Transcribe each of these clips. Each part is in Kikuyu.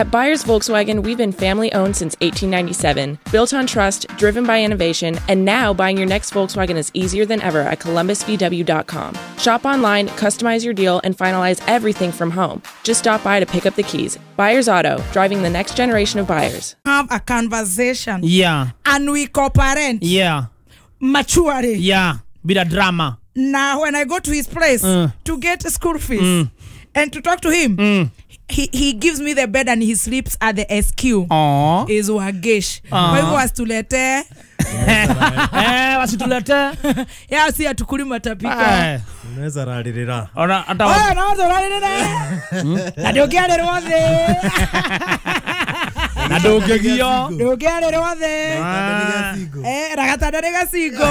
At Buyers Volkswagen, we've been family owned since 1897, built on trust, driven by innovation, and now buying your next Volkswagen is easier than ever at columbusvw.com. Shop online, customize your deal, and finalize everything from home. Just stop by to pick up the keys. Buyers Auto, driving the next generation of buyers. Have a conversation. Yeah. And we co-parent. Yeah. Maturely. Yeah. Bila drama. Now, when I go to his place to get school fees and to talk to him, he gives me the bed and he sleeps at the SQ. Aww. Is wagesh. Kwa hivyo wasitulete. Wasitulete. Ya si atukuli matapika. Unaweza ralirira. Ona ata. Oh, naweza ralirira. Na ndokiarerwo thi. Na ndũngĩgio. Ndũngĩarĩrwo thĩ. Na gatanda nĩ gacingo.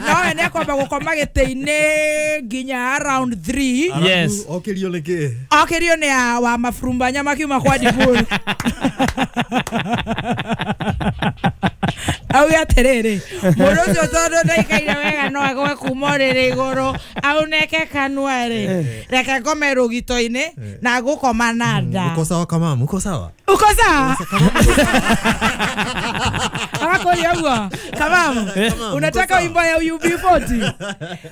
Nowe nĩ akwamba gũkoma gĩtĩ-inĩ nginya around 3. Yes. Okĩrio nĩ kĩ? Okĩrio nĩ wa maburumbanya makiuma kwa Diburu. Auge atĩrĩrĩ, mũndũ ũcio tondũ ndaikaire wega no agwe kuma ũrĩrĩ igũrũ auneke kanua rĩ, reke ngome rũgito-inĩ na ngũkoma na nda. Uko sawa kamamu? Uko sawa? Uko sawa? Agakuria ũguo kamamu, unataka wimbo ya UB40?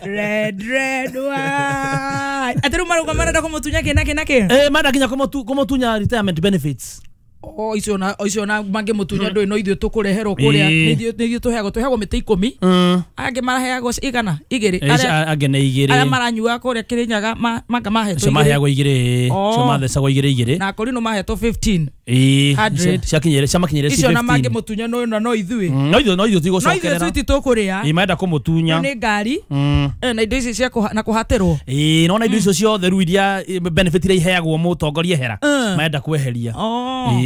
Red red wine. Atĩ rĩu marauga marenda kũmũtunya kĩ na kĩ na kĩ? Marenda nginya kũmũtunya retirement benefits. Oh, icio na mangĩmũtunya ndũĩ no ithuĩ tũkũreherwo kũrĩa nĩ ithuĩ tũheagwo mĩtĩ 10. Angĩ maraheagwo igana igĩrĩ. Angĩ nĩ igĩrĩ. Arĩa maranyua kũrĩa Kĩrĩnyaga manga mahetwo igĩrĩ. Maheagwo igĩrĩ. Cio mathecagwo igĩrĩ igĩrĩ. Na Akorino mahetwo 15. Ciakinyĩre ciamakinyĩre 15. Icio na mangĩmũtunya no ithuĩ. No ithuĩ tigũcokerera. No ithuĩ tũkũrĩa. Ĩ marenda kũmũtunya. Nĩ ngari. Na indo ici cia na kũhatĩrwo. Ĩ nona indo icio ciothe rĩu iria benefit iria iheagwo mũtongoria ehera. Marenda kweheria.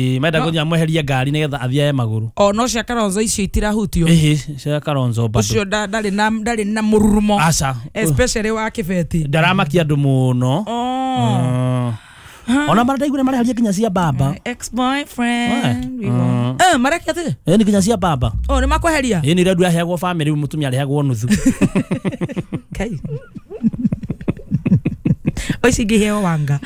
Marenda kũnya mweheria ngari nĩgetha athiae magũrũ. O no cia Kalonzo icio itirahutio. Ĩhĩ cia Kalonzo bado. Ũcio ndarĩ na mũrurumo. Aca. Especially wa kĩbeti. Ndaramakia andũ mũno. Ona mara ndaigua mareharia nginya cia baba. Ex boyfriend. Marekia atĩ? Nĩ nginya cia baba. Oh, nĩ makweheria? Ĩ nĩ iria aheagwo family mũtumia arehagwo nuthu. Kai. Oici ingĩheo wanga.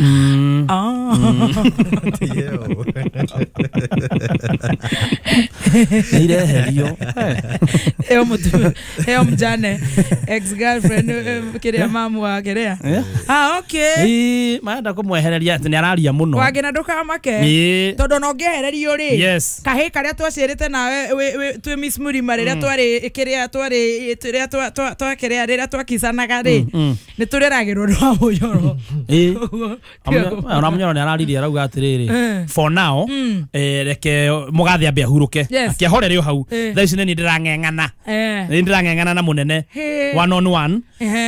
Nĩ ireherio. Heo mjane ex girlfriend kĩrĩa mamu wa kĩrĩa. Ah, okay. Ĩ marenda kũmwehereria atĩ nĩ araria mũno. Wangĩ na ndũkamake. Tondũ no ũngĩehererio rĩ. Kahĩ karĩa twaciarĩte nawe twĩ Miss Mũrima rĩrĩa twarĩ kĩrĩa twarĩ rĩrĩa twakĩrĩa rĩrĩa twakicanaga rĩ. Nĩ tũreragĩrwo nĩ wa Mũnyoro. Ona Mũnyoro nĩ araririe arauga atĩrĩrĩ, for now reke mũgathe ambe ahurũke akĩahorere o hau. Thaa ici nĩ niĩ ndĩrang'eng'ana. Nĩ ndĩrang'eng'ana na mũnene one on one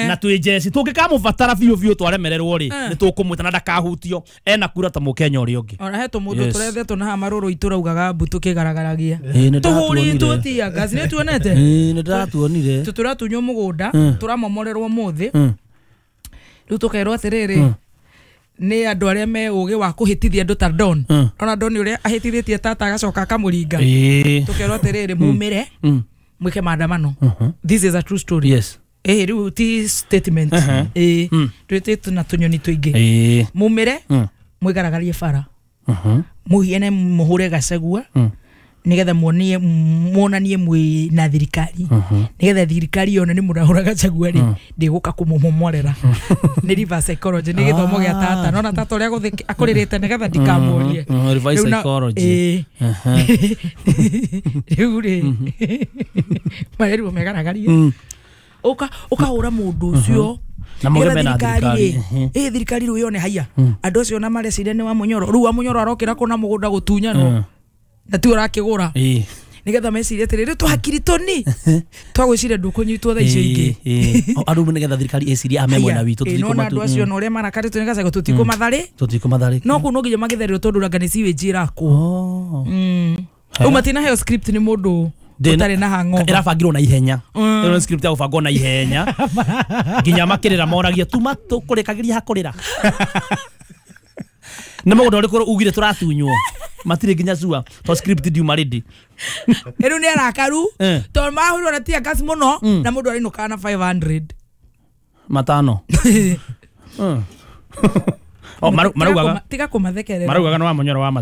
na twĩ njeci tũngĩkamũbatara biũ biũ twaremererwo rĩ nĩ tũkũmwĩta na ndakahutio ena kura ta mũkenya ũrĩa ũngĩ. Ona he tũmũndũ tũrethetwo na haha marũrũ itũraugaga mbu tũkĩgaragaragia. Tũhũrĩtwo tear gas nĩ tuonete? Nĩ ndĩratuonire. Tũratunywo mũgũnda tũramomorerwo mũthĩ. Rĩu tũkerwo atĩrĩrĩ nĩ andũ arĩa me ũgĩ wa kũhĩtithia andũ ta Don. Ona Don ũrĩa ahĩtithĩtie tata agacoka akamũringa. Tũkerwo atĩrĩrĩ mumĩre mwĩke maandamano. This is a true story. Yes. Rĩu ti statement. Twĩtĩtwo na tũnyoni tũingĩ. Mumĩre mwĩgaragarie bara. Mũhiane mũhũre Gachagua nigetha muonie muonanie mwi na thirikari nigetha thirikari yone ni murahura Gachagua ri ndiguka kumumomorera. Ni reverse psychology ni githomo gia tata nona tata uria guthi akuririte nigetha ndikamurie. Reverse psychology. Riu ri mareru megaragarie ukahura mundu ucio na muge na thirikari. Thirikari riu yone haiya andu acio na marecire ni wa Munyoro riu wa Munyoro arokira kuna mugunda gutunyanwo na ti urakigura nigetha mecirie atiriri twakiri toni twagwiciria ndukunyitwo thaa icio ingĩ. Andu nigetha thirikari icirie ame mwena witũ tutikũmatu. Andũ acio na ũrĩa marakarĩtwo nĩ Gachagua tũtikũmatharĩ no kũu no nginya magĩthererwo tondũ ranga nĩ sewage ĩrakwo. Rĩu matinaheo script nĩ mũndũ ũtarĩ na hangover. Ĩrabangirwo na ihenya. Ĩno nĩ script ya gũbangwo na ihenya nginya makĩrĩra moragia tuma tũkũrĩkagĩria hakũrĩra. Nĩ mũgũnda ũrĩkũ ugire tũratunywo matirĩ nginya cua to script ndiuma ready. Rĩu nĩ arakaru tondũ mahũrirwo na tear gas mũno na mũndũ arainũkaga na 500 matano. O maraugaga tiga kũmathekerera maraugaga no wa Munyoro wa matu.